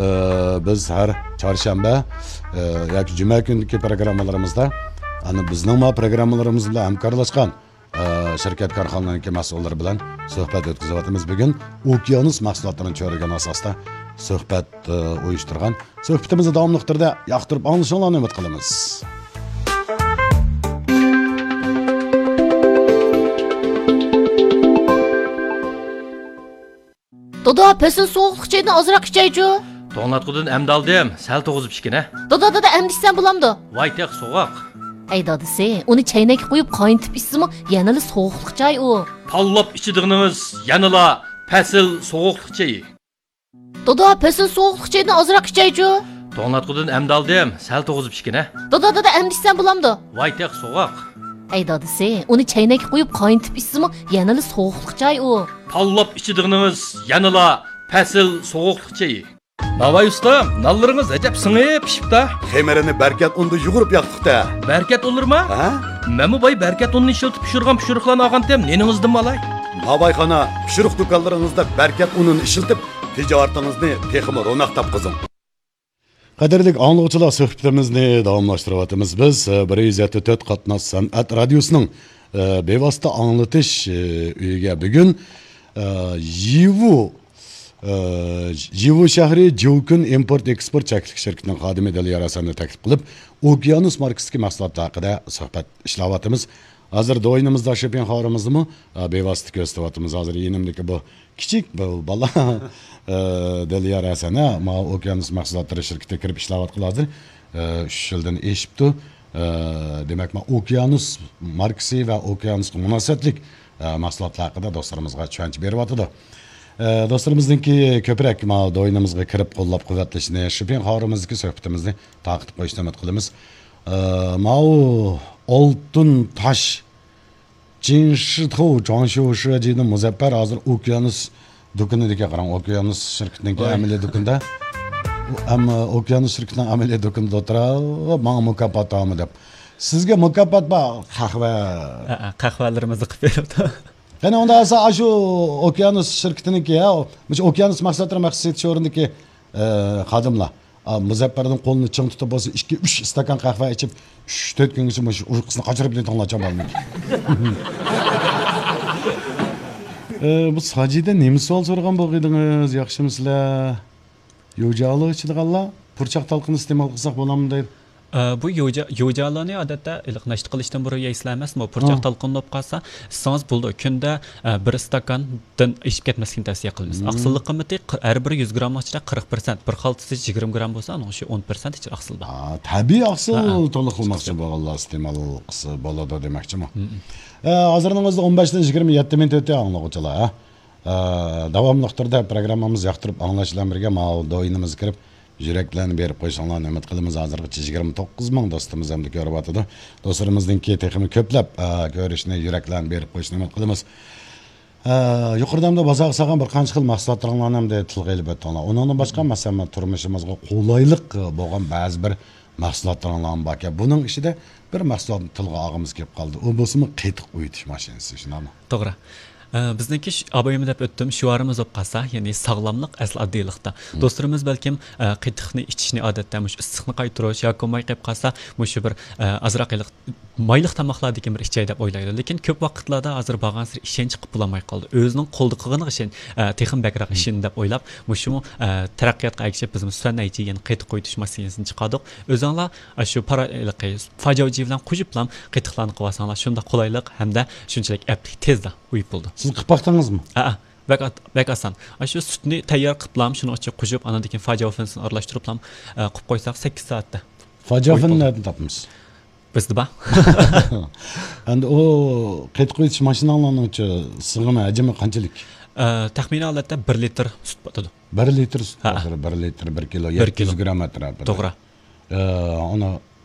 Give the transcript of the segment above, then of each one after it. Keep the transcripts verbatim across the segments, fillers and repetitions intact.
ئە، بىز ھەر چارشەنبە، ئە، ياكى جۈمە كۈنىدىكى پروگراممىلىرىمىزدا، ئەنە بىزنىڭ ما پروگراممىلىرىمىز بىلەن ھەمكارلاشقان، ئە، شىركەت كارخانىلارنىڭكى مەسئۇللىرى بىلەن سۆھبەت ئۆتكۈزۈۋاتىمىز. بۈگۈن ئوكيانۇس مەھسۇلاتلىرىنى چۆرىگەن ئاساستا سۆھبەت، ئە، ئۇيۇشتۇرغان. سۆھبىتىمىزنى داۋاملىق تۈردە ياقتۇرۇپ ئاڭلىشىڭلارنى ئۈمىد قىلىمىز. دادا، پەسىل سوغۇقلۇق چايدىن ئازراق ئىچەيچۇ. توڭلاتقۇدىن ئەمدى ئالدىم، سەل توغۇزۇپ ئىچكىنە. دادا، دادا، ئەمدى ئىچسەم بولامدۇ؟ ۋاي تېخى سوغۇق. ئەي دادىسى، ئۇنى چەينەككە قويۇپ قاينىتىپ ئىچسىمۇ يەنىلا سوغۇقلۇق چاي ئۇ. تاللاپ ئىچىدىغىنىڭىز يەنىلا پەسىل سوغۇقلۇق چېيى. دادا، پەسىل سوغۇقلۇق چايدىن ئازراق ئىچەيچۇ. توڭلاتقۇدىن ئەمدى ئالدىم، سەل توغۇزۇپ ئىچكىنە. دادا، دادا، ئەمدى ئىچسەم بولامدۇ؟ ۋاي تېخى سوغۇق. ئەي دادىسى، ئۇنى چەينەككە قويۇپ قاينىتىپ ئىچسىمۇ يەنىلا سوغۇقلۇق چاي ئۇ. تاللاپ ئىچىدىغىنىڭىز يەنىلا پەسىل سوغۇقلۇق چېيى. ناۋاي ئۇستام، نانلىرىڭىز ئەجەب سىڭىپ پىشىپتا. خېمىرىنى بەركەت ئۇندا يۇغۇرۇپ ياقتۇقتا. بەركەت ئۇنلىرىما؟ ھە؟ مەنمۇ باي بەركەت ئۇنىنى ئىشلىتىپ پىشۇرغان پىشۇرۇقلارنى ئالغانتىم، نېنىڭىزدىنمۇ ئالاي؟ ناۋاي خانا، پىشۇرۇق دۇكانلىرىڭىزدا بەركەت ئۇنىنى ئىشلىتىپ، تىجارىتىڭىزنى تېخىمۇ روناق تاپقۇزۇڭ. قەدىرلىك ئاڭلىغۇچىلار، سۆھبىتىمىزنى داۋاملاشتۇرۇۋاتىمىز. بىز، ئە، بىر يۈز يەتتە تۆت قاتناش سەنئەت رادىيوسىنىڭ، ئە، بىۋاسىتە ئاڭلىتىش، ئە، ئۆيىگە بۈگۈن، ئە، يىۋۇ، ئە، يىۋۇ شەھىرى جيۇكۈن ئىمپورت ئېكسپورت چەكلىك شىركىتىنىڭ خادىمى دىليار ھەسەننى تەكلىپ قىلىپ، ئوكيانۇس ماركىسىدىكى مەھسۇلاتلار ھەققىدە سۆھبەت ئىشلەۋاتىمىز. ھازىر دوينىمىزدا شىپىن خاۋىرىمىزنىمۇ، ئە، بىۋاسىتە كۆرسىتىۋاتىمىز. ھازىر يېنىمدىكى بۇ كىچىك بۇ بالا، ئە، دىليار ھەسەن، ھە، ماۋۇ ئوكيانۇس مەھسۇلاتلىرى شىركىتىگە كىرىپ ئىشلەۋاتقىلى ھازىر، ئە، ئۈچ يىلدىن ئېشىپتۇ. ئە، دېمەك، ماۋۇ ئوكيانۇس ماركىسى ۋە ئوكيانۇسقا مۇناسىۋەتلىك، ئە، مەھسۇلاتلار ھەققىدە دوستلىرىمىزغا چۈشەنچە بېرىۋاتىدۇ. ئە، دوستلىرىمىزنىڭكى كۆپرەك ماۋۇ دوينىمىزغا كىرىپ قوللاپ قۇۋۋەتلىشىنى، شىپىن خاۋىرىمىزدىكى سۆھبىتىمىزنى تارقىتىپ قويۇشنى ئۈمىد قىلىمىز. ئە، ماۋۇ ئالتۇن تاش جىنشىتو جاڭشيۇشى جىنى مۇزەپپەر ھازىر ئوكيانۇس دۇكىنىدىكى، قاراڭ، ئوكيانۇس شىركىتىنىڭكى ۋاي. ئەمەلىي دۇكىنىدا. ئۇ ئەمما ئوكيانۇس شىركىتىنىڭ ئەمەلىي دۇكىنىدا ئولتۇرۇپ، ماڭا مۇكاپات تامى دەپ. سىزگە مۇكاپات بار، قەھۋە. ھە، ھە، قەھۋەلىرىمىزنى قىلىپ بېرىپتۇ. قېنى، ئۇنداق بولسا، ئاشۇ ئوكيانۇس شىركىتىنىڭكى، ھە، مۇشۇ ئوكيانۇس مەھسۇلاتلىرى مەخسۇس سېتىش ئورنىدىكى، ئە، خادىملار. ئا، مۇزەپپەردىن قولىنى چىڭ تۇتۇپ بولسا، ئىككى، ئۈچ ئىستاكان قەھۋە ئىچىپ، ئۈچ، تۆت كۈنگىچە مۇشۇ ئۇيقۇسىنى قاچۇرۇپ نېتىڭلارچان بالىنىڭ. ئە، بۇ ساجىدە نېمە سوئال سورىغان بولغىيدىڭىز؟ ياخشىمۇسىلەر؟ يوجالو ئىچىدىغانلار پۇرچاق تالقىنى ئىستېمال قىلساق بولامدۇ دەيدۇ. ئە، بۇ يوجا-، يوجالونى ئادەتتە ئىللىق ناشتا قىلىشتىن بۇرۇن يەيسىلەر ئەمەسمۇ؟ پۇرچاق ھە. تالقىنى بولۇپ قالسا، ئىچسىڭىز بولىدۇ. كۈندە، ئە، بىر ئىستاكاندىن ئېشىپ كەتمەسلىكنى تەۋسىيە قىلىمىز. مم. ئاقسىللىق قىممىتى قىر-، ھەر بىر يۈز گرامنىڭ ئىچىدە قىرىق پىرسەنت، بىر خالتىسى يىگىرمە گرام بولسا، ئۇنىڭ ئىچىدە ئون پىرسەنت ئىچىدە ئاقسىل بار. ھە، تەبىئىي ئاقسىل ھە، ھە. تولۇق قىلماقچى بولغانلار ئىستېمال قىلسا بولىدۇ دېمەكچىمۇ؟ مم. ئە، ھازىرنىڭ ئۆزىدە ئون بەشتىن يىگىرمە يەتتە مىنۇت ئۆتتى، ئاڭلىغۇچىلار، ھە. ئە، داۋاملىق تۈردە پروگراممىمىز ياقتۇرۇپ ئاڭلاش بىلەن بىرگە ماۋۇ دوينىمىزغا كىرىپ، يۈرەكلەرنى بېرىپ قويۇشۇڭلارنى ئۈمىد قىلىمىز. ھازىرغىچە يىگىرمە توققۇز مىڭ دوستىمىز ئەمدى كۆرۈۋاتىدۇ. دوستلىرىمىزنىڭكى تېخىمۇ كۆپلەپ، ئە، كۆرۈشىنى، يۈرەكلەرنى بېرىپ قويۇشىنى ئۈمىد قىلىمىز. ئە، يۇقىرىدا ئەمدى بازارغا سالغان بىر قانچە خىل مەھسۇلاتلىرىڭلارنى ئەمدى تىلغا ئېلىپ ئۆتتۈڭلار. ئۇنىڭدىن باشقا، مەسىلەن، تۇرمۇشىمىزغا قولايلىق بولغان بەزى بىر مەھسۇلاتلىرىڭلارمۇ باركەن. بۇنىڭ ئىچىدە بىر مەھسۇلاتنى تىلغا ئالغۇمىز كېلىپ قالدى. ئۇ بولسىمۇ قېتىق ئۇيۇتۇش ماشىنىسى، شۇنداقمۇ؟ توغرا. ئە، بىزنىڭكى ش-، ئابايىمۇ دەپ ئۆتتۈم، شوئارىمىز بولۇپ قالسا، يەنى ساغلاملىق ئەسلى ئاددىيلىقتا. مم. دوستلىرىمىز بەلكىم، ئە، قېتىقنى ئىچىشنى ئادەتتە مۇشۇ ئىسسىقنى قايتۇرۇش ياكى بولماي قېلىپ قالسا، مۇشۇ بىر، ئە، ئازراق ھېلىقى مايلىق تاماقلاردىكىن بىر ئىچەي دەپ ئويلايدۇ. لېكىن كۆپ ۋاقىتلاردا ھازىر بارغانسېرى ئىشەنچ قىلىپ بولالماي قالدى. ئۆزىنىڭ قولدا قىلغىنىغا ئىشەن-، ئە، تېخىمۇ بەكرەك مم. ئىشىنىدۇ دەپ ئويلاپ، مۇشۇمۇ، ئە، تەرەققىياتقا ئەگىشىپ بىزمۇ سۈەن ئەيجى يەنە قېتىق ئۇيۇتۇش ماشىنىسىنى چىقاردۇق. ئۆزۈڭلار ئاشۇ پارا-، ھېلىقى فاجاۋجى بىلەن قوشۇپلا قېتىقلارنى قىلىۋالساڭلار شۇنداق قولايلىق ھەمدە شۇنچىلىك ئەپلىك تېزلا ئۇيۇپ بولىدۇ. سىز قىلىپ باقتىڭىزمۇ؟ ھەئە، بەك ئات-، بەك ئاسان. ئاشۇ سۈتنى تەييار قىلىپلا شۇنىڭ ئىچىگە قوشۇپ، ئاندىن كېيىن فاجاۋ فېنسىنى ئارىلاشتۇرۇپلا، ئە، قىلىپ قويساق سەككىز سائەتتە. فاجاۋ ئۇيۇپ فېننى بولىدۇ. نەدىن تاپىمىز؟ بىزدە بار. ئەمدى ئۇ قېتىق ئۇيۇتۇش ماشىناڭلارنىڭچۇ سىغىمى، ھەجمى قانچىلىك؟ ئە، تەخمىنىي ھالەتتە بىر لىتىر سۈت باتىدۇ. بىر لىتىر سۈت ھە. باتىدۇ، بىر لىتىر، بىر كىلو، بىر يەتتە يۈز كىلو. گرام ئەتراپىدا. توغرا. ئە، ئۇنى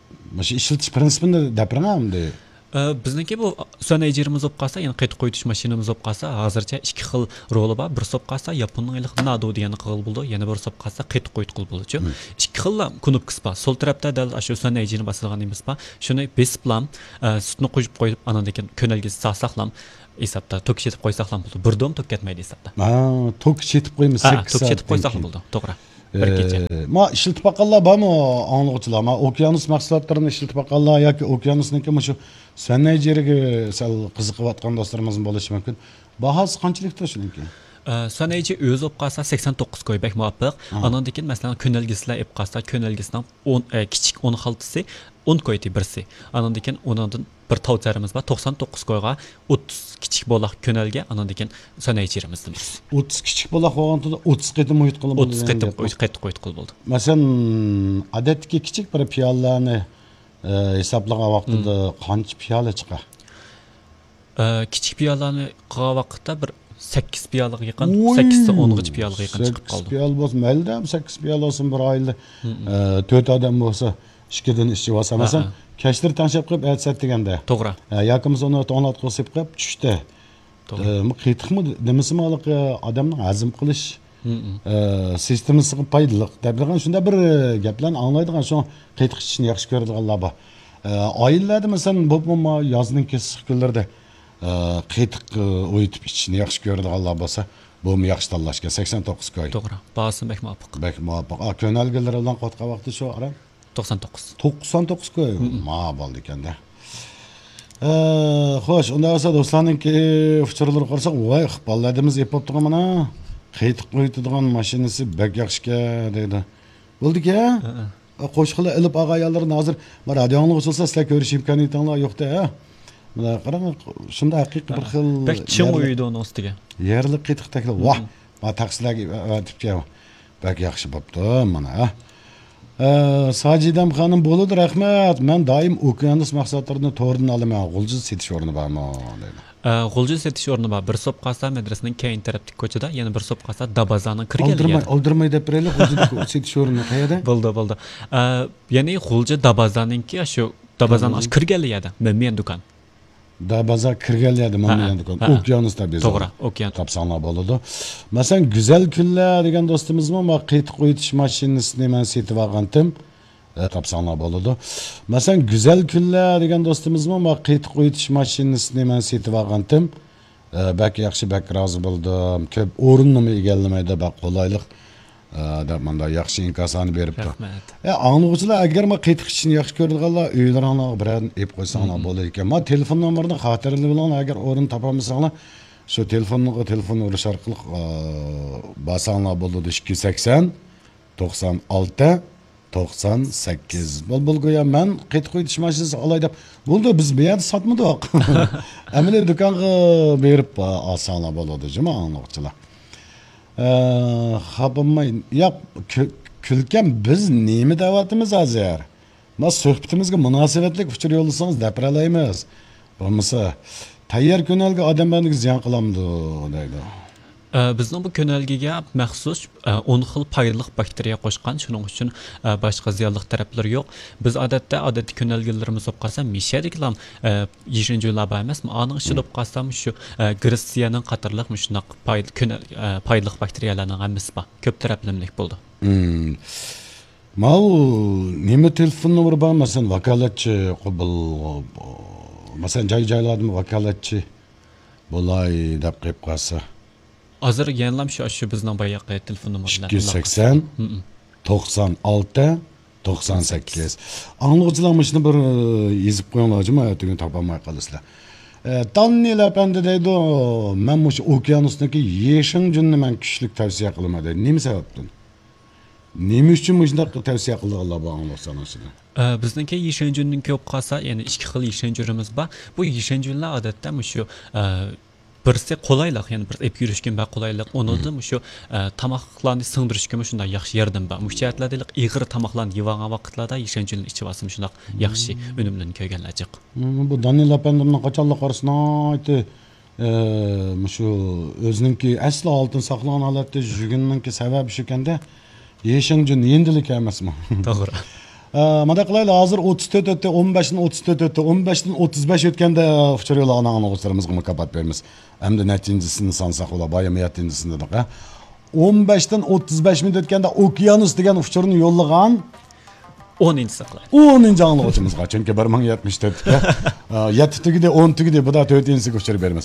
مۇشۇ ئىشلىتىش پىرىنسىپىنى دەپ بېرىڭە ئەمدى. ئە، بىزنىڭكى بۇ سۈەن ئەيجىنىمىز بولۇپ قالسا، يەنى قېتىق قۇيۇتۇش ماشىنىمىز بولۇپ قالسا، ھازىرچە ئىككى خىل رولى بار. بىرسى بولۇپ قالسا، ياپوننىڭ ھېلىقى نادو دېگەننى قىلغىلى بولىدۇ، يەنە بىرسى بولۇپ قالسا، قېتىق قۇيۇتقىلى بولىدۇ. مم. ئىككى خىللا كۇنۇپكىسى بار. سول تەرەپتە دەل ئاشۇ سۈەن ئەيجىنى باسىدىغان نېمىسى بار. شۇنى بېسىپلا، ئە، سۈتنى قوشۇپ قويۇپ، ئاندىن كېيىن كۆنەلگىسى سالساقلا، ھېسابتا توك چېتىپ قويساقلا بولىدۇ. بىردىن توك كەتمەيدۇ ھېسابتا. ھە، توك چېتىپ قويىمىز ھە، سەككىز توك چېتىپ سائەتتىن قويساقلا كېيىن. بولىدۇ، توغرا. بىر كېچە. ئە، ما ئىشلىتىپ باققانلار بارمۇ ئاڭلىغۇچىلار؟ ما ئوكيانۇس مەھسۇلاتلىرىنى ئىشلىتىپ باققانلار ياكى ئوكيانۇسنىڭكى مۇشۇ سۈنئەي جىرىگە سەل قىزىقىۋاتقان دوستلىرىمىزمۇ بولۇشى مۇمكىن. باھاسى قانچىلىكتۇ شۇنىڭكى؟ ئە، سۈنئەي جىر ئۆزى بولۇپ قالسا سەكسەن توققۇز كوي، بەك مۇۋاپىق. ھا. ئانىڭدىن كېيىن، مەسىلەن، كۆنەلگىسىلەر ئېلىپ قالسا، كۆنەلگىسىنىڭ ئون، ئە، كىچىك ئون خالتىسى ئون كويدى بىرسى. ئانىڭدىن كېيىن ئۇنىڭدىن بىر تاۋ تەرىمىز بار، توقسان توققۇز كويغا ئوتتۇز كىچىك بولاق كۆنەلگە، ئانىڭدىن كېيىن سۈنئەي جىرىمىز دەيمىز. ئوتتۇز كىچىك بولاق بولغاندا ئوتتۇز قېتىم ئۇيۇتقىلى بولىدۇ ئوتتۇز دېگەن قېتىم گەپ. ئۇيۇت-، قېتىق ئۇيۇتقىلى بولىدۇ. مەسىلەن، ئادەتتىكى كىچىك بىر پىيالىنى، ئە، ھېسابلىغان ۋاقتىدا مم. قانچە پىيالە چىقار؟ ئە، كىچىك پىيالىنى قىلغان ۋاقىتتا بىر سەككىز پىيالىغا يېقىن، ۋوي! سەككىزدىن ئونغىچە پىيالىغا يېقىن چىقىپ سەككىز قالدى. پىيالە بولسا، مەيلىدە، سەككىز پىيالە بولسۇن، بىر ئائىلىدە، مم. ئە، تۆت ئادەم بولسا، ئىككىدىن ئىچىۋالسا. ھە، مەسىلەن، ھە. كەچلىرى تەڭشەپ قويۇپ، ئەتىسى دېگەندە. توغرا. ھە، ياكى بولمىسا ئۇنى توڭلاتقۇزۇپ قويۇپ، چۈشتە. توغرا. ئە، بۇ قېتىقمۇ نېمىسىمۇ ھېلىقى ئادەمنىڭ ھەزىم قىلىش، مم. ئە، سىستېمىسىغا پايدىلىق دەپ بېرىدىغان شۇنداق بىر، ئە، گەپلەرنى ئاڭلايدىغان، شۇڭا قېتىق ئىچىشنى ياخشى كۆرىدىغانلار بار. ئە، ئائىلىلەردە، مەسىلەن، بولۇپمۇ يازنىڭ كېسىق كۈنلىرىدە، ئە، قېتىق، ئە، ئۇيۇتۇپ ئىچىشنى ياخشى كۆرىدىغانلار بولسا، بۇمۇ ياخشى تاللاش ئىكەن، سەكسەن توققۇز كوي. توغرا، باھاسىمۇ بەك مۇۋاپىق. بەك مۇۋاپىق. ئا، كۆنەلگىلىرى بىلەن قوتقان ۋاقتى شۇ ئاران؟ توقسان توققۇز. توقسان توققۇز كوي. مم. ما بولدى ئىكەن-دە. ئە، خوش، ئۇنداق بولسا دوستلارنىڭكى ئۇچۇرلىرىغا قارىساق، ۋاي، ئىقبال ھەدىمىز ئېپ بوپتىغۇ مانا. قېتىق ئۇيۇتىدىغان ماشىنىسى بەك ياخشىكەن دەيدۇ. بولدىكەن. ھە، ھە. ئا، قوشقىلى ئېلىپ ئالغان ئاياللىرىنى ھازىر، ما، رادىيو ئاڭلىغۇچى بولسا سىلەر كۆرۈش ئىمكانىيىتىڭلار يوق-دە، ھە؟ مانا قاراڭ، شۇنداق ھەقىقىي بىر خىل بەك چىڭ يەرلىك، ئۇيۇيدۇ ئۇنىڭ ئۈستىگە. يەرلىك قېتىق تەكلىپ. ۋاھ، مم. ما تەخسىلەرگە ئەۋەتىپكەن. بەك ياخشى بوپتۇ، مانا، ھە. ئە، ساجىدەم خانىم، بولىدۇ، رەھمەت. مەن دائىم ئوكيانۇس مەھسۇلاتلىرىنى توردىن ئالىمەن. غۇلجىدا سېتىش ئورنى بارمۇ؟ دەيدۇ. ئە، غۇلجىدا سېتىش ئورنى بار. بىرسى بولۇپ قالسا مەدرىسىنىڭ كەينى تەرەپتىكى كوچىدا، يەنە بىرسى بولۇپ قالسا دابازانىڭ كىرگەن ئالدىرىماي، يەردە. ئالدىرىماي دەپ بېرەيلى، غۇلجىدا سېتىش ئورنى قەيەردە؟ بولدى، بولدى. ئە، يەنى غۇلجا دابازانىڭكى شۇ دابازان دابازان. ئاشۇ كىرگەن يەردە، مەمىيەن دۇكان. دابازا كىرگەن يەردە ھە، مەمىيەن دۇكان. ھە. ئوكيانۇس دەپ يېزىلغان. توغرا، ئوكيان. تاپساڭلار بولىدۇ. مەسىلەن، گۈزەل كۈنلەر دېگەن دوستىمىزمۇ، ما قېتىق ئۇيۇتۇش ماشىنىسىنى مەن سېتىۋالغانتىم. ئە، تاپساڭلار بولىدۇ. مەسىلەن، گۈزەل كۈنلەر دېگەن دوستىمىزمۇ، ما قېتىق ئۇيۇتۇش ماشىنىسىنى مەن سېتىۋالغانتىم. ئە، بەك ياخشى، بەك رازى بولدۇم. كۆپ ئورۇننىمۇ ئىگىلىمەيدۇ، بەك قولايلىق، ئە، دەپ مۇنداق ياخشى ئىنكاسلارنى بېرىپتۇ. رەھمەت. ئە، ئاڭلىغۇچىلار، ئەگەر ما قېتىق ئىچىشنى ياخشى كۆرىدىغانلار، ئۆيلىرىڭلارغا بىرەرنى ئېلىپ قويساڭلار مم. بولىدىكەن. ما تېلېفون نومۇرىنى خاتىرىلىۋېلىڭلار، ئەگەر ئورۇن تاپالمىساڭلار، شۇ تېلېفونغا تېلېفون ئۇرۇش ئارقىلىق، ئە، بارساڭلار بولىدۇ، ئىككى يۈز سەكسەن، توقسان ئالتە، توقسان سەككىز. بولدى، بولدى، گويا مەن قېتىق ئۇيۇتۇش ماشىنىسى ئالاي دەپ. بولدى، بىز بۇ يەردە ساتمىدۇق. ئەمەلىي دۇكانغا بېرىپ ئالساڭلار بولىدۇ، جۇمۇ ئاڭلىغۇچىلار. ئە، خاپىماي، ياق، كۈ-، كۈلكەم، بىز نېمە دەۋاتىمىز ھازىر؟ ما سۆھبىتىمىزگە مۇناسىۋەتلىك ئۇچۇر يوللىسىڭىز دەپ بېرەلەيمىز. بولمىسا، تەييار كۆنەلگە ئادەم بەدىنىگە زىيان قىلامدۇ دەيدۇ. ئە، بىزنىڭ بۇ كۆنەلگىگە مەخسۇس، ئە، ئون خىل پايدىلىق باكتېرىيە قوشقان، شۇنىڭ ئۈچۈن، ئە، باشقا زىيانلىق تەرەپلىرى يوق. بىز ئادەتتە، ئادەتتىكى كۆنەلگىلىرىمىز بولۇپ قالسا، مىشەدىكىلا، ئە، يېشىل جۈنلەر بار ئەمەسمۇ؟ ئانىڭ ئىچىدە بولۇپ قالسا، شۇ، ئە، گرېتسىيەنىڭ قاتارلىق مۇشۇنداق پايد-، كۆنەل-، ئە، پايدىلىق باكتېرىيەلەرنىڭ ھەممىسى بار. كۆپ تەرەپلىمىلىك بولىدۇ. مم. ماۋۇ نېمە تېلېفون نومۇرى بار؟ مەسىلەن، ۋاكالەتچى قوبۇل، مەسىلەن، جاي-جايلاردىمۇ ۋاكالەتچى بولاي دەپ قېلىپ قالسا. ھازىر يەنىلا شۇ، شۇ بىزنىڭ باياقى تېلېفون نومۇرى بىلەن ئىككى يۈز سەكسەن، توقسان ئالتە، توقسان سەككىز. ئاڭلىغۇچىلار مۇشۇنى بىر، ئە، يېزىپ قويۇڭلار، جۇمۇ ئەتىگۈن تاپالماي قالىسىلەر. ئە، دانىيل ئەپەندى دەيدۇ، مەن مۇشۇ ئوكيانۇسنىڭكى يېشىڭجۈننى مەن كۈچلۈك تەۋسىيە قىلىمەن دەيدۇ. نېمە سەۋەبتىن؟ نېمە ئۈچۈن مۇشۇنداق تەۋسىيە قىلىدىغانلار بار ئاڭلىغۇچىلارنىڭ ئىچىدە؟ ئە، بىزنىڭكى يېشىڭجۈننىڭكى بولۇپ قالسا، يەنى ئىككى خىل يېشىڭجۈنىمىز بار. بۇ يېشىڭجۈنلەر ئادەتتە مۇشۇ، ئە، بىرسى قولايلىق، يەنى بىر ئېلىپ يۈرۈشكە بەك قولايلىق. ئۇنىڭدىن مۇشۇ، ئە، تاماقلارنى سىڭدۈرۈشكىمۇ شۇنداق ياخشى ياردىمى بار. مۇشۇ جەھەتلەردە ئېغىر تاماقلارنى يەۋالغان ۋاقىتلاردا يېشىڭجۈننى ئىچىۋالسا مۇشۇنداق ياخشى ئۈنۈملىرىنى كۆرگەنلەر جىق. مم، بۇ دانىيل ئەپەندىمنىڭ قاچانلىق قارىسا ناھايىتى، ئە، مۇشۇ ئۆزىنىڭكى ئەسلى ھالىتىنى ساقلىغان ھالەتتە يۈرگىنىنىڭكى سەۋەبى شۇكەندە، يېشىڭجۈن يېنىدىلا ئەمەسمۇ؟ توغرا. ئە، مۇنداق قىلايلى، ھازىر ئوتتۇز تۆت ئۆتتى، ئون بەشتىن ئوتتۇز تۆت ئۆتتى، ئون بەشتىن ئوتتۇز بەش ئۆتكەندە ئۇچۇر يوللىغان ئاڭلىغۇچىلىرىمىزغا مۇكاپات بېرىمىز. ئەمدى نەچچىنچىسىنى سانىساق بولا، بايام يەتتىنچىسىنى دېدۇق، ھە؟ ئون بەشتىن ئوتتۇز بەش مىنۇت ئۆتكەندە ئوكيانۇس دېگەن ئۇچۇرنى يوللىغان ئونىنچىسى قىلايلى. ئونىنچى ئاڭلىغۇچىمىزغا، چۈنكى بىر مىڭ يەتمىش تۆت، ئە، يەتتە تۈگىدى، ئون تۈگىدى، بۇدا تۆتىنچىسىگە ئۇچۇر بېرىمىز.